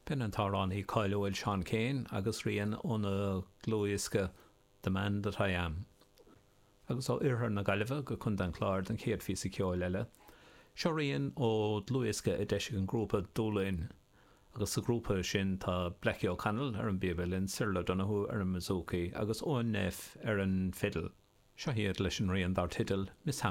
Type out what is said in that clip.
B'in an t-amhránaí cáiliúil Seán Keane agus rian óna dhlúthdhiosca The Man That I Am. Agus ó oirthear na Gaillimhe go Contae an Chláir don chéad phíosa ceoil eile. Seo rian ó dhlúthdhiosca a d'eisigh an grúpa Dúlainn. Agus sa ghrúpa sin tá Blackie O'Connell ar an bpíob uilleann, Cyril O'Donoghue ar an mbouzouki agus Eoin Neff ar an bhfidil. Seo iad leis an rian dar teideal Miss.